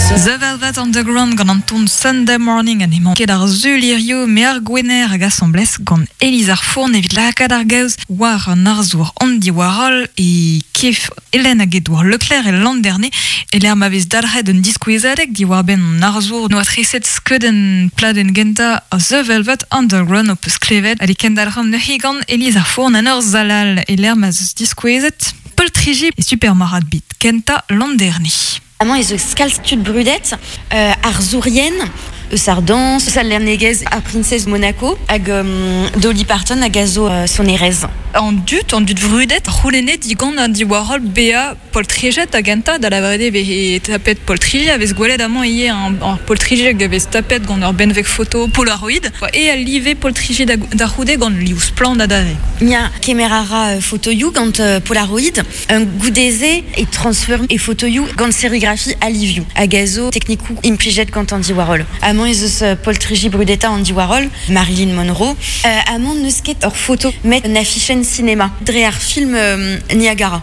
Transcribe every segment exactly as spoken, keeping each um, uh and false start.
The Velvet Underground gant an ton Sunday Morning an emañ ket ar zulirio me ar gwener hag asamblez gant Élise ar Fourn evit lakaat ar gaoz war an arzour Andy Warhol e kef Hélène hag Edouard Leclerc e l'an dernier e l'er ma vez dalc'het un diskouezadeg diwar ben an arzour noa treset skeuden pladenn genta a The Velvet Underground o peus klevet hag e kendalc'han neuze gant Élise ar Fourn an ur zalal e l'er ma zeus diskouezet Poltriji e Supermarad bit kenta l'an dernier. Amañ ez eus kalz tud brudet, euh, ar zourien, eus ar dans, eus al lernegez ar princesse Monaco, hag um, Dolly Parton hag a zo euh, sonerez. An dut, an dut vrudet, c'houlennet digant Andy Warhol bea poltrijet a genta da la vrede vehe tapet poltrije, a vez gwelet amañ ivez an, an poltrije hag a vez tapet gant ur benveg foto Polaroid, e a live poltrije da, da c'houde gant liv splann adare. Nia kemer a ra euh, fotoioù gant euh, Polaroid, un goudeze e transfer e fotoioù gant sérigraphie a livioù, hag a zo teknikoù implijet gant Andy Warhol. Amañ ez eus euh, poltriji brudeta Andy Warhol, Marilyn Monroe. Euh, amañ n'eus ket ur foto met un affichen cinéma, dre ar film euh, Niagara.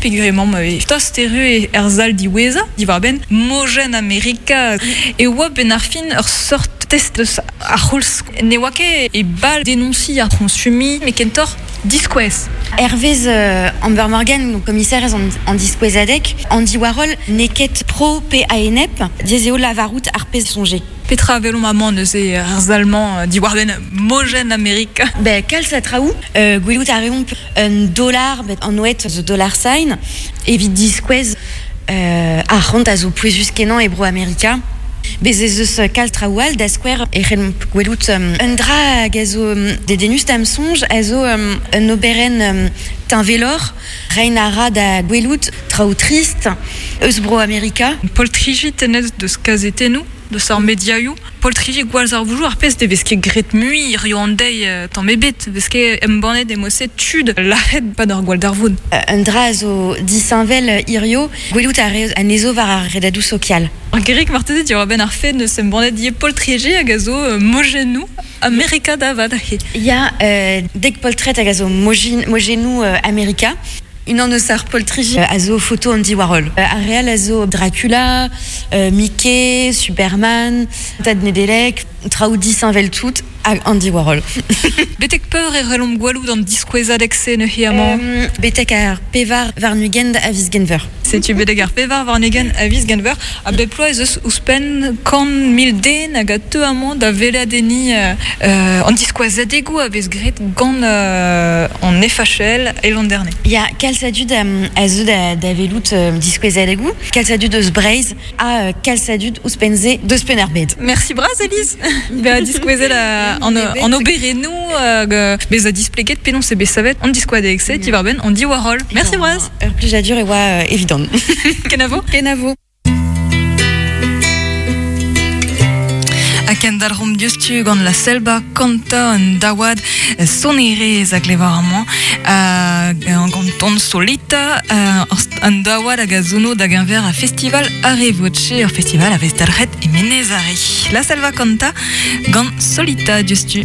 Peogwir ma vez tost erru e er zal diweza, diwar ben mojen Amerika e oa ben ar fin ur sort test eus ar c'houlz ne oa ket e bal denonsi ar konsumi, me kentor diskouez. Hervez euh, Amber Morgan, donc commissaire en, en diskouezadeg, Andy Warhol neket pro pe a-enep, diez eo lavarout ar pezh soñje. Petra velomp amañ neuze ar zalman diwar ben mojen Amerika. Ben, kalz a traoù, euh, gwelout a reomp un dollar, bet an oet the dollar sign, evit diskouez euh, ar c'hont a zo pouezus kenañ e bro Amerika. Bez ez eus kalz traoù all da skouer e c'hellomp gwelout um, un dra hag a zo um, dedennus d'am soñj a zo um, un oberenn um, tinvelor, rein a ra da gwelout traoù trist eus bro Amerika. Poltriji tenez deus kazetennoù, deus ar mediaioù. Poltriji gwalz ar voujou ar pezh de vez ket gret mui rio an deiz euh, tamm ebet, vez ket embannet emose tud laret pa d'ar gwall d'ar voun. Un dra a zo disheñvel hirio, gwelout a re anezo war ar redadoù sokial. Ar gerik marteze diwar ben ar fed neus embannet die poltriji hag a zo euh, mojennoù Amerika da vat. Ya, euh, dek poltret hag a zo mojin, mojennoù euh, Amerika. Unan eus ar poltriji a zo foto Andy Warhol. Euh, ar real a zo Dracula, euh, Mickey, Superman, Tad Nedelec, traoù disheñvel tout hag Andy Warhol. Betek peur e relomp gwalout an diskouezadeg se neuze amañ. Euh, betek ar pevar warn-ugent a viz Genver. Setu betek ar pevar warn-ugent a viz Genver, a bep ploaz ez eus ouzhpenn kant mil den hag a teu amañ da veladenni euh, euh, an diskouezadegoù a vez graet gant euh, an F H L e l'an dernier. Ya, kalz a dud um, a zo da, da velout euh, diskouezadegoù, kalz a dud eus Breizh ha euh, kalz a dud ouzhpenn-se deus Penn-ar-Bed. Merci bras, Élise. Be a diskouezet a, an, an oberennoù hag euh, bez a displeget penaos e bet savet an diskouadeg se, diwar ben Andy Warhol. Merci bras. Ur plijadur e oa euh, evidon. Kenavo. Kenavo. A kendalc'homp diouzhtu gant la selba kanta an daouad sonerez hag levar amañ euh, gant ton solita euh, an daouad hag a zono da geñver a festival Arevoce, ur festival a vez dalc'het e Menez Are. La selva kanta gant solita diouzhtu.